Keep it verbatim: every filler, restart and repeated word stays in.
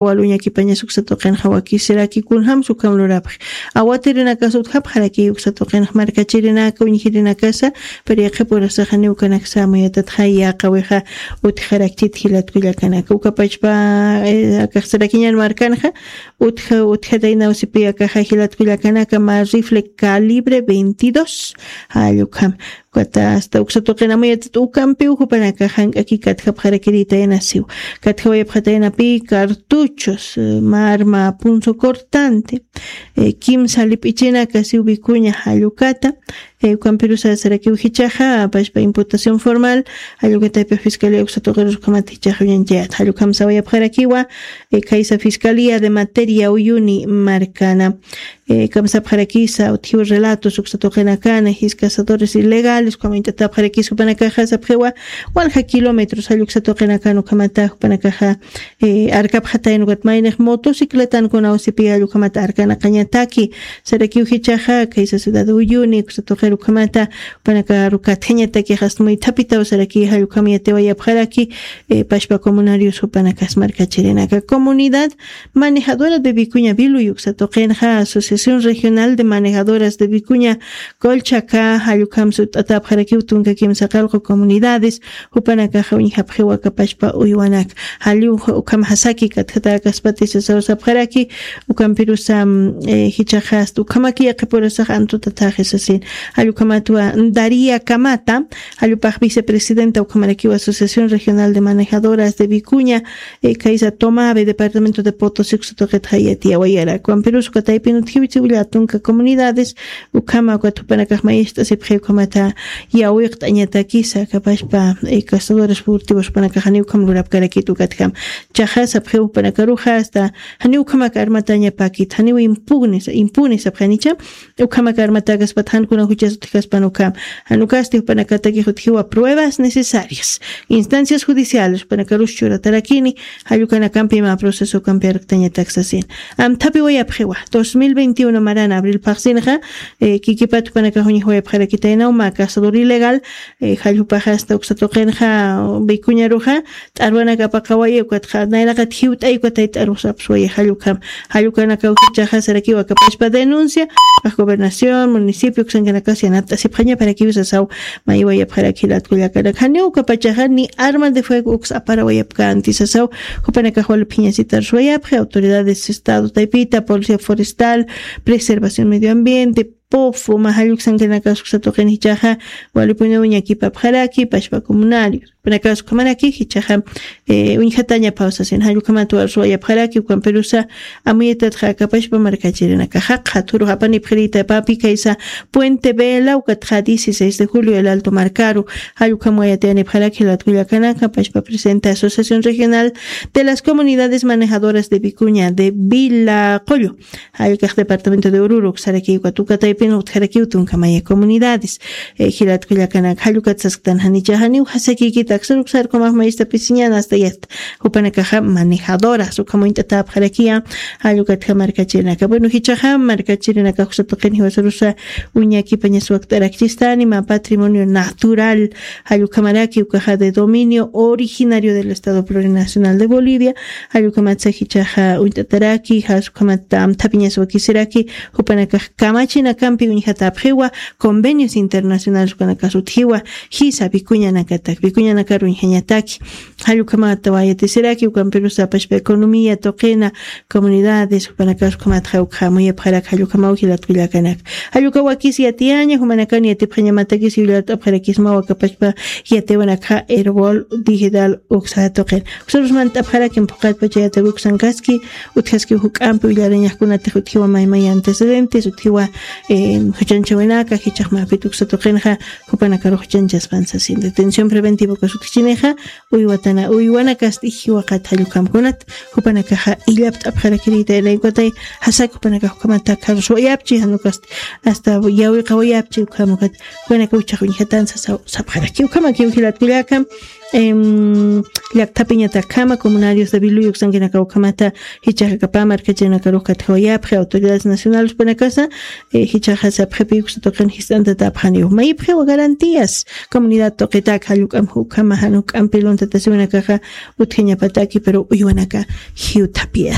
Waluñakipañas uksa tuqinxa wakisiraki kunjamsa ukham lurapxi. Awatirinakasa utjapxaraki uksa tuqinxa markachirinaka uñjirinakasa, pero yaqhipurasaxa niwkanaksa amuyatatxa yaqawixa utjarakchit jilat kullakanaka. Ukapachpa akaxsarakiñan markanxa utja utjataynaw sipi akaxa jilat kullakanaka, mä rifle calibre veintidós. Jall ukham. Ukata asta uksa tuqin amuyatat ukampiw jupanakax jank'aki katjapxarakiritayna siw. Katjawayapxataynapi cartuchos, eh, mä arma punzo cortante, eh, kimsa lip'ichinaka siw wikuña jall ukata. Eh, ukampirusa sarakiw jichhaxa pachpa imputación formal jall ukataypi fiscalía uksa tuqirus ukhamat jichhaxa uñanchayat. Jall ukham sawayapxarakiwa, eh, khaysa fiscalía de materia uyuni markana. Eh, kamsapxarakisa utjiw relatos uksa tuqinakana, jis cazadores ilegales ukham uñt'atapxarakisa jupanakaxa sapxiwa walja kilómetros jall uksa tuqinakana ukhamata jupanakaxa, eh, arkapxatayna ukat maynix motocicletankunaw sipi jall ukhamata arkanaqañataki. Sarakiw jichhaxa khaysa ciudad uyuni uksa tuqir ukhamata jupanakaru katjañatakix asta muythapitaw saraki jall ukham yatiwayapxaraki, eh, pachpa comunarios jupanakas markachirinaka. Comunidad manejadora de Vicuña Vilu uksa tuqinxa Asociación Regional de Manejadoras de Vicuña Colchaca jall ukham sut'atapxarakiw tunka kimsa qallqu comunidades, jupanakaxa uñjapxiwa kapachpa uywanak. Jall ukham jasaki katjatäkaspati sasaw sapxaraki, ukampirusa, mm, eh, jichhaxa asta ukhamaki yaqhipurasax antutathaxi sasin. Jall ukhamatwa Daría Camata, jall upax vicepresidenta ukhamarakiw Asociación Regional de Manejadoras de Vicuña, eh, khaysa Tomabe, departamento de Potosí uksa tuqitxa yatiyawayara. Ukampirus ukataypin utjiw siwilla tunka comunidades, ukhama ukat jupanakax mayacht'asipxi ukhamata yawiqt'añatakisa kapachpa, eh, cazadores furtivos jupanakax janiw ukham lurapkarakit ukatjam. Jichhaxa sapxiw jupanakaruxa asta janiw ukhamak armatañapakit, janiw impugnes, impunes sapxanicha, ukhamak armatäkaspat jankuna juchas utjkaspan ukham. Jan ukasti jupanakatakix utjiwa pruebas necesarias, instancias judiciales jupanakarus churatarakini, jall ukanakampi mä proceso ukampi arktañatak sasin. Amthapiwayapxiwa, dos mil veintiuno marana abril phaxsinxa, eh, kikipat jupanakax uñjawayapxarakitaynaw mä cazador ilegal, eh, jall jupaxa asta uksa tuqinxa Vicuñaruxa t'arwanak apaqawaya ukatxa nayraqat jiwt'ay ukatay t'arwasapxswaya jall ukham. Jall ukanakaw jichhaxa sarakiw akapachpa denuncia, ukax gobernación, municipio uksankanakas yanapt'asipxañaparakiw sasaw maywayapxaraki jilat kullakanaka. Janiw ukapachaxa ni arma de fuego uks aparawayapkänti sasaw, jupanakax wali phiñasitaruswayapxi, autoridades de estado taypita, policía forestal, preservación medio ambiente, POFO, mä jall uksankanakas uksa tuqin jichhaxa walipuniw ñakipapxaraki, pachpa comunarios. Jupanakax ukhamaraki jichhaxa, eh, uñjatañapaw sasin, jall ukhamat warsuwayapxaraki, ukampirusa amuyatatxa akapachpa markachirinakaxa qhaturux apanipxiritapapi khaysa Puente Vela, ukatxa dieciséis de julio El Alto markaru, jall ukham wayatiyanipxaraki jilat kullakanaka, pachpa presidenta Asociación Regional de las Comunidades Manejadoras de Vicuña de Vila Qullu. Jall ukax departamento de Oruro, uksaraki ukat ukataypin utjarakiw tunka maya comunidades, eh, jilat kullakanaka, jall ukat sasktan janicha janiw jasakikit aksar uksar ukhamax mayistapisiñan asta yasta. Jupanakaxa manejadoras ukham uñt'atäpxarakiya, jall ukatxa markachirinaka. Bueno, jichhaxa markachirinaka uksa tuqin jiwasarusa uñakipañas wakt'arakchistani mä patrimonio natural, jall ukhamaraki ukaxa de dominio originario del Estado Plurinacional de Bolivia, jall ukhamatsa jichhaxa uñt'ataraki, jas ukhamat amthapiñas wakisiraki, jupanakax kamachinakampi uñjatäpxiwa, convenios internacionales ukanakas utjiwa, jisa Vicuñanakatak, Vicuñanakar uñjañataki. Jall ukhamat wayatisiraki, ukampirusa pachpa economía tuqina, comunidades, jupanakas ukhamatxa ukhamuyapxarak, jall ukhamaw jilat kullakanaka. Jall uka wakis yatiyaña, jumanakan yatipxañamatakis yullart'apxarakismaw akapachpa yatiwanakxa Erbol Digital uksa tuqin. Uksarus mant'apxarakim phuqatpacha yatiwi uksankaski, utjaski juk'ampi willarañax kunatix utjiwa maymay antecedentes, utjiwa, eh, juchanchawinaka, jichhax mapit uksa tuqinxa, jupanakarux juchanchaspan sasin. Detención preventiva ukas utjchinixa, uywatana, uywanakasti jiwaqat jall ukham kunat, jupanakaxa illapt'apxarakirita, naykatay, jasak jupanakax ukhamata karuswayapchi, jan ukasti, asta yawiqawayapchi, ukham ukat, jupanaka uchhax uñjatan sasaw, sapxaraki, ukhamakiw jilat kullaka, Llaktapiñatakama comunarios de viluyu uksankinakawkamata hichaxakapa markacharinakaruxkatjawayapxi autoridades nacionales panakasa. Hichaxa sapxapi uksa tuqin jist'antatapxaniw mayipxiwa garantías comunidad tuqitaka jalluk'am jukama januk'am piluntatasiwanakaxa utjañapataki pero uywanaka jiwthapiya.